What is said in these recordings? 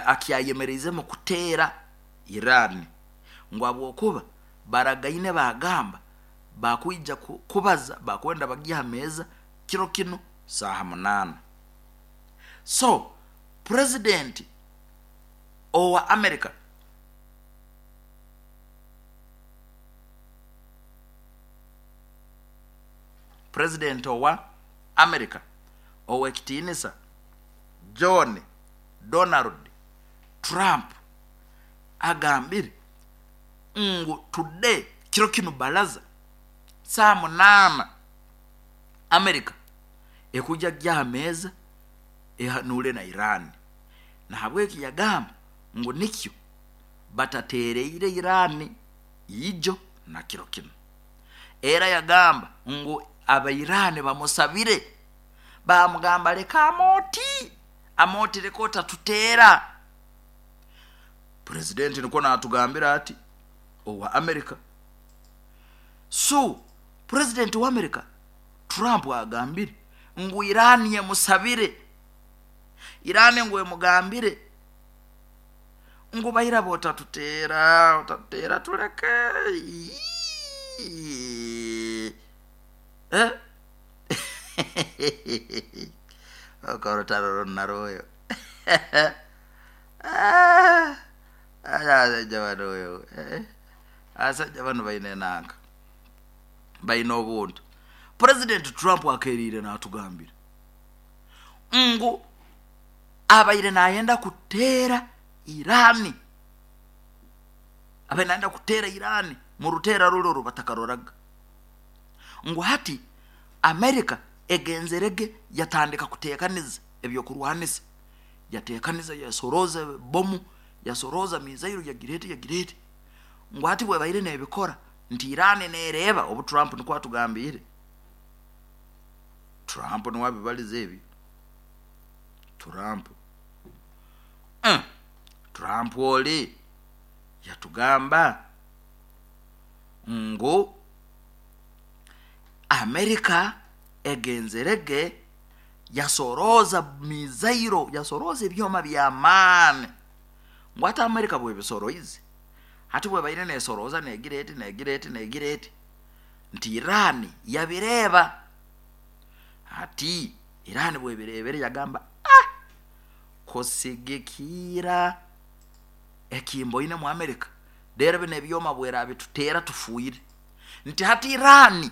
Akyayemereizemu kuteera Iran ngu habwokuba baragaine baagamba bakwija kubaza bakwenda bagye aha meeza kiro kinu saaha munaana. So Purezidenti owa America. Purezidenti owa America ow'ekitiinisa John Donald Trump agambire ngu today kiro kinu baraza saaha munaana America ekwija kugya aha meeza ehanuure na Iran. Nahabweki yagamba ngu nikyo batateereire Iran ijo na kiro kinu. Era yagamba ngu Abairani bamusabire baamugamba leka amooti, amooti leka otatuteera. Purezidenti nikwo naatugambira ati owa America. So purezidenti wa America Trump agambire ngu Iran emusabire, Iran ngu emugambire ngu bairaba otatuteera, otatuteera tuleke. Eh? Orutaro runu narwoyo. Abasajja banu oyo, eh? Abasajja banu baine enanka, baine obuntu. Purezidenti Trump akeeriire naatugambira ngu abaire naayenda kuteera Iran, abaire naayenda kuteera Iran mu ruteera ruri oru batakaroraga. Ngu hati America egenzere ge yatandika kuteekaniza eby'okurwanisa, yateekaniza yasorooza bomu, yasorooza mizairo yagira eti yagira eti. Ngu hati bwebaire nebikora nti Iran nereeba obu Trump nikwo atugambiire. Trump niwe abibarize ebyo. Trump. Uh, Trump ori yatugamba ngu America egenzere ge yasorooza mizairo, yasorooza ebyoma by'amaani. Ngu hati America bwebisoroize, hati bwebaire nesorooza negira eti negira eti negira eti, nti Iran yabireeba. Hati Iran bwebireebere yagamba ah, kusigikiira ekimboine mu America, reero binu ebyoma bwerabituteera tufiire. Nti hati Iran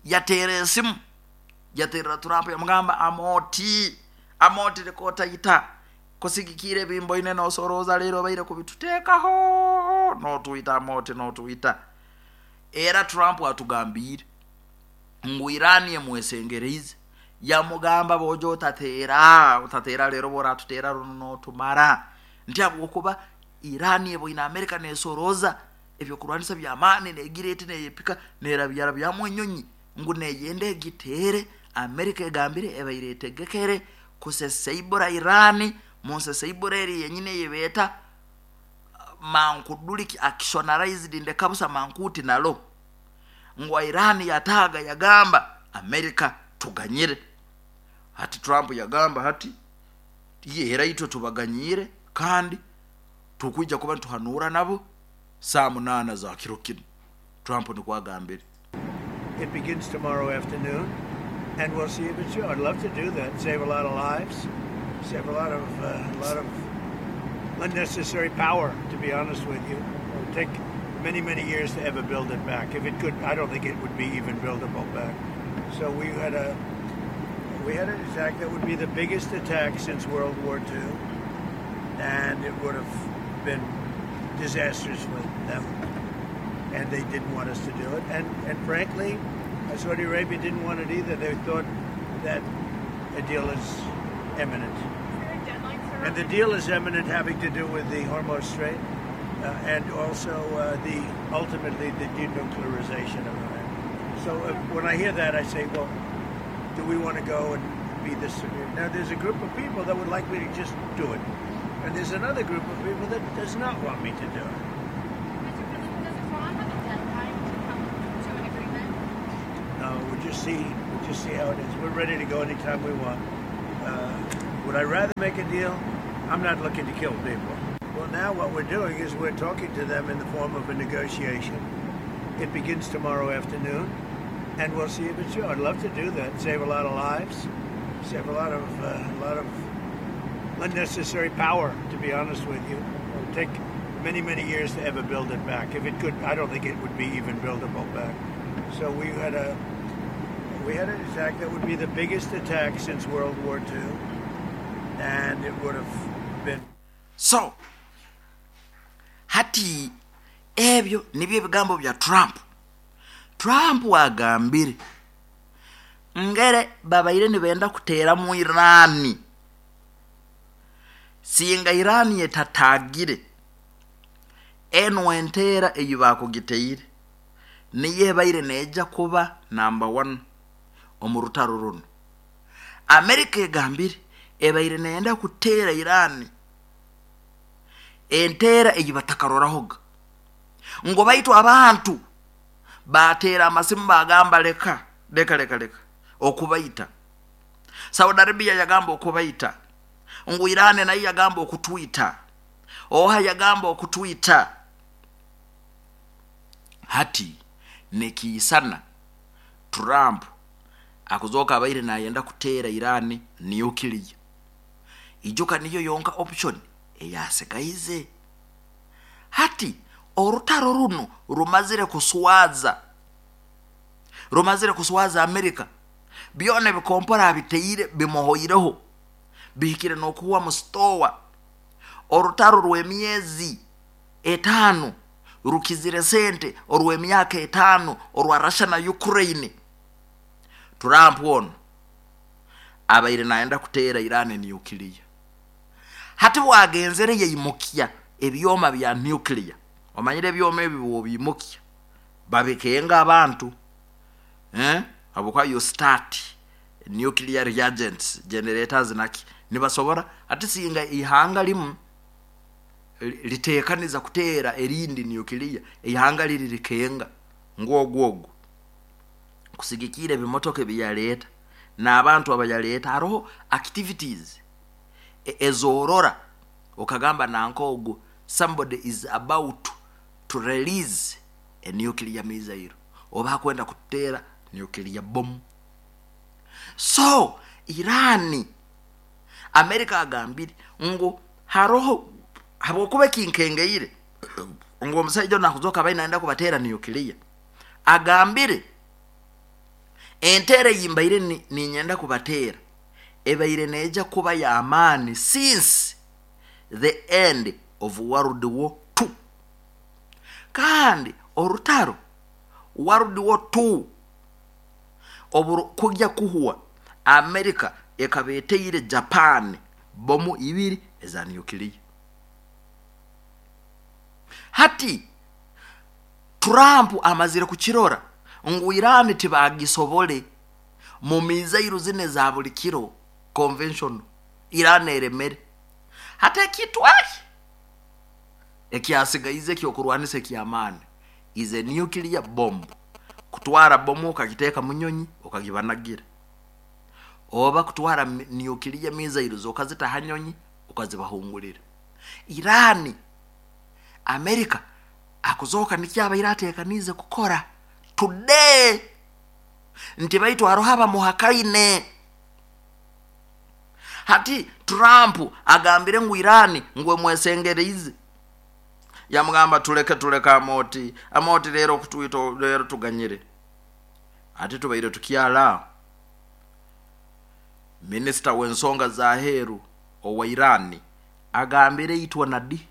yateera esimu, yateerera Trump yamugamba amooti, amooti leka otaita, kusigikiira ebi mboine nosorooza reero obaire kubituteekaho, notwita amooti notwita. Era Trump atugambiire ngu Iran emwesengereize yamugamba boojo otateera, otateera reero obu oratuteera runu notumara. Nti ahabw'okuba Iran eboine America nesorooza eby'okurwanisa by'amaani negira eti neyepika nerabyarabyamu enyonyi ngu neyenda egiteere, America egambire ebaire etegekere kuseseibura Iran munseseibura eri yenyini eyibeeta mankuduriki actionarized ndeka busa mankuti nalo ngu Iran yataaga yagamba America tuganyire. Hati Trump yagamba hati era itwe tubaganyiire kandi tukwija kuba nituhanuura nabo saaha munaana za kiro kinu, Trump nikwo agambire. It begins tomorrow afternoon and we'll see if it's true. I'd love to do that, save a lot of lives, save a lot of a lot of unnecessary power, to be honest with you. It would take many, many years to ever build it back. If it could, I don't think it would be even buildable back. So we had a we had an attack that would be the biggest attack since World War II, and it would have been disastrous for them. And they didn't want us to do it. And, and frankly, Saudi Arabia didn't want it either. They thought that a deal is imminent. And the deal is imminent having to do with the Hormuz Strait and also the ultimately the denuclearization of Iran. So when I hear that, I say, well, do we want to go and be this severe? Now, there's a group of people that would like me to just do it. And there's another group of people that does not want me to do it. Mr. President, does Iran have a deadline to come to an agreement? No, we'll just see. We'll just see how it is. We're ready to go anytime we want. Would I rather make a deal? I'm not looking to kill people. Well, now what we're doing is we're talking to them in the form of a negotiation. It begins tomorrow afternoon, and we'll see if it's true. I'd love to do that. Save a lot of lives, save a lot of a lot of unnecessary power. To be honest with you, it'll take many many years to ever build it back. If it could, I don't think it would be even buildable back. So we had a we had an attack that would be the biggest attack since World War II, and it would have been So hati ebyo nibyo ebigambo bya Trump. Trump agambire ngere babaire nibenda kuteeramu Iran singa Iran etatagire enu enteera ei baakugiteire niyo ebaire neija kuba namba one omu rutaro runu. Amerika egambire ebaire neyenda kuteera Iran enteera ei batakarorahoga ngu baitu abantu bateera amasimu bagamba leka leka leka leka okubaita. Saudi Arabia yagamba okubaita, ngu Iran nayo yagamba okutwita, oha yagamba okutwita. Hati nikiisana Trump akuzooka abaire nayenda kuteera Iran nuclear. Ijuka niyo yonka option eyasigaize. Hati orutaro runu rumazire kuswaza, rumazire kuswaza Amerika. Byona ebikompora abiteire bimuhoireho, bihikire n'okuhwa mu sitowa. Orutaro rw'emyezi etaano rukizire sente orw'emyaka etaano orwa Russia na Ukraine. Trump onu abaire nayenda kuteera Iran nuclear. Hati bwagenzere yaimukya ebyoma bya nuclear. Omanyire ebyoma ebi bw'obiimukya babikenga abantu, eh? Habwokuba you start nuclear reagents generators naki nibasobora hati singa ihanga limu litekaniza kuteera erindi nuclear, ihanga liri likenga ngu ogu ogu kusigikira ebimotoka ebiyaleeta n'abantu abayaleeta haroho activities ezorora okagamba nanka ogu somebody is about to release a nuclear missile oba akwenda kututeera nuclear bomb. So Iran, America agambire ngu haroho habwokuba ekinkengeire ngu omusaija onu akuzooka abaire nayenda kubateera nuclear, agambire enteera ei mbaire niinyenda kubateera ebaire neija kuba y'amaani since the end of World War II. Kandi orutaro World War II obu kugya kuhwa, America ekaba eteire Japan bomu ibiri eza nuclear. Hati Trump amazire kukirora ngu Iran tibagisobole mu mizairu zinu eza buli kiro, conventional, Iran eremere. Hati ekintu eki ekyasigaize eky'okurwanisa eky'amaani is a nuclear bomb, kutwara bomu okagiteeka mu nyonyi okagibanagira, oba kutwara nuclear missiles okazita ha nyonyi okazibahungulira. Iran, America akuzooka nikyo abaire ateekaniize kukora today nti baitu haroho abamuhakaine. Hati Trump agambire ngu Iran ngu emwesengereize, yamugamba tuleke tuleke amooti amooti reero okutwita reero tuganyire. Hati tubaire tukyali aho, minisita w'ensonga z'aheeru owa Iran agambire itwe na di?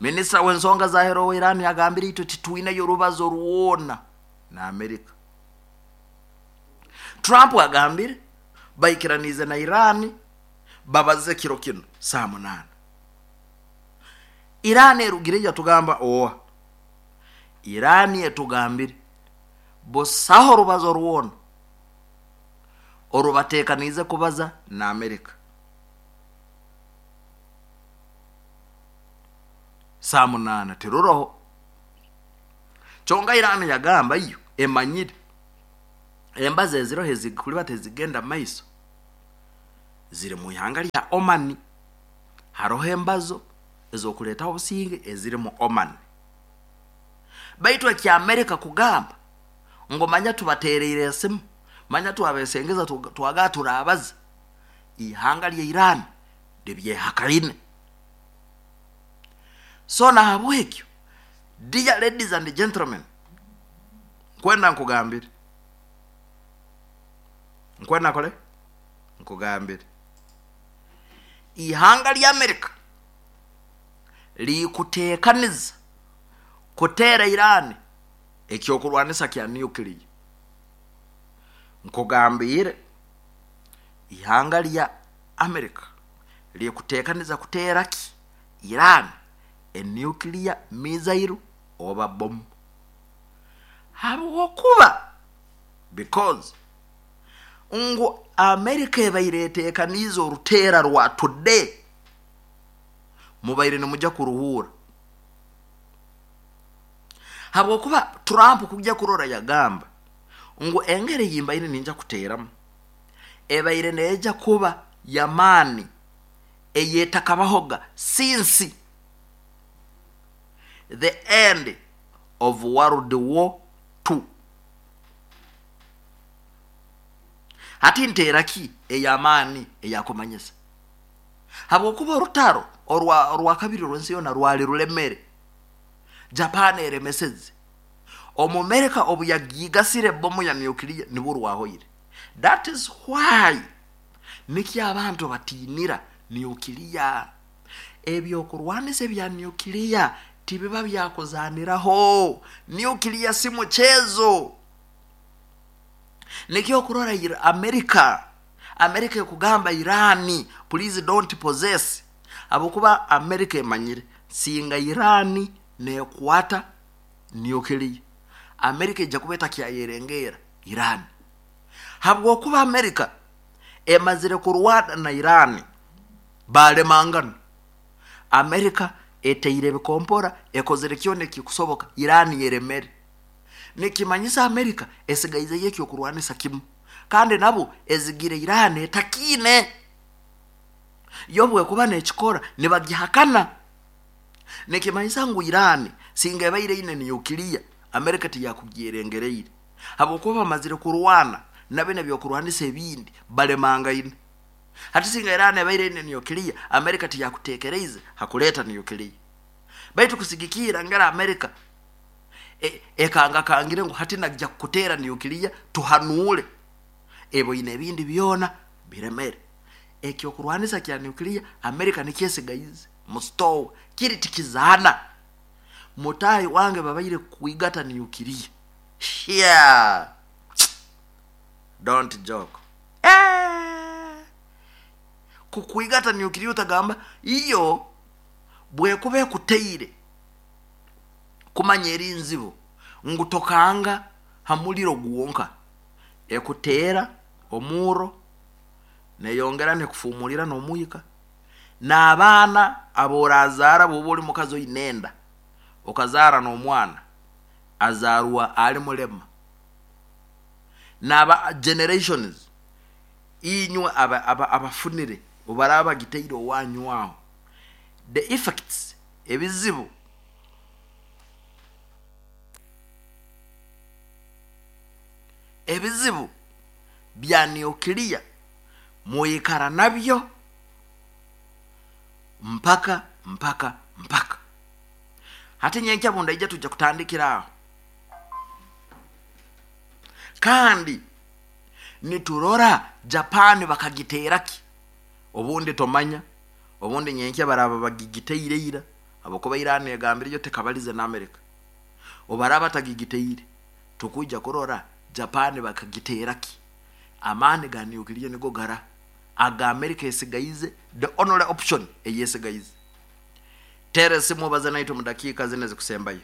Minisita w'ensonga z'aheeru owa Iran agambire itwe titwineyo rubazo rwona na Amerika. Trump agambire baikiraniize na Iran babaze kiro kinu saaha munaana. Iran erugire yatugamba oa? Iran etugambire busaho rubazo rwona orubateekaniize kubaza na Amerika. Saaha munaana tiruroho. Kyonka Iran yagamba yo emanyire embazo eziroho ezikuliba tizigenda mumaiso ziri mu ihanga lya Oman. Haroho embazo ez'okuleetaho obusinge eziri mu Oman. Baitu ekya Amerika kugamba ngu manya tubateereire esimu, manya twabesengeza twagaba turaabaza, ihanga lya Iran libyehakaine. So nahabwekyo dear ladies and gentlemen, nkwenda nkugambire, nkwenda nkore? Nkugambire. Ihanga lya Amerika likuteekaniza kuteera Iran eky'okurwanisa kya nuclear. Nkugambiire, ihanga lya Amerika likuteekaniza kuteera ki? Iran e nuclear missile oba bomu. Habwokuba, because, ngu Amerika ebaire eteekaniize oruteera rwa today, mubaire nimugya kuruhuura. Habwokuba Trump kugya kurora yagamba ngu engeri ei mbaire ningya kuteeramu ebaire neija kuba y'amaani eyetakabahoga since the end of World War II. Hati nteera ki ey'amaani eyakumanyisa? Habwokuba orutaro orwa orwakabiri orw'ensi yoona rwali rulemere, Japan eremeseze. Omumerika obu yagiigasire ebomu ya nuclear nibwo rwahoire. That is why nikyo abantu batiinira nuclear. Eby'okurwanisa ebya nuclear tibiba byakuzaaniraho. Nuclear si mukyezo. Nikyo okurora America, America ekugamba Iran please don't possess habwokuba America emanyire singa Iran nekwata nuclear, America eija kuba etakyayerengeera Iran. Habwokuba America emazire kurwana na Iran balemangana, America eteire ebikompora, ekozire kyona ekikusoboka Iran eremere. Nikimanyisa America esigaizeyo eky'okurwanisa kimu kandi nabwo ezigire Iran etakiine. Yo obwekuba nekikora nibagihakana. Nikimanyisa ngu Iran singa ebaire eine nuclear, America tiyakugyerengereire habwokuba bamazire kurwana na binu eby'okurwanisa ebindi balemangaine. Hati singa Iran ebaire eine nuclear, America tiyakutekereize ha kuleeta nuclear. Baitu kusigikirra ngeri America ekangakangire ngu hati naija kukuteera nuclear tuhanuule, eboine ebindi byona biremere. Eky'okurwanisa kya nuclear America nikyo esigaize mu sitoowa, kiri tikizaana. Mutaahi wange babaire kukwigata nuclear. Hyaa! Don't joke. Eeh! Kukwigata nuclear otagamba iyo bwekuba ekuteire kumanya eri nzibu ngu tokanga ha muriro gwonka, ekuteera omurro neyongera nekufumurira n'omwika, n'abaana aborazaara bwoba ori mukazi oine enda okazaara n'omwana azaarwa ari murema, n'aba generations inywe abafunire obu baraba bagiteire owanyu aho, the effects, ebizibu. Ebizibu bya nuclear mwikara nabyo mpaka mpaka mpaka. Hati nyenkya bundaija twija kutandikira aho. Kandi niturora Japan bakagiteera ki? Obundi tomanya, obundi nyenkya baraaba bagigiteire ira habwokuba Iran egambire yo tekabalize na America. Obu baraaba batagigiteire, tukwija kurora Japan bakagiteera ki? Amaani ga nuclear nigo gara aga America esigaize, the only option ei esigaize. Teera esimu obaze naitwe omu dakiika zinu ezikusembayo.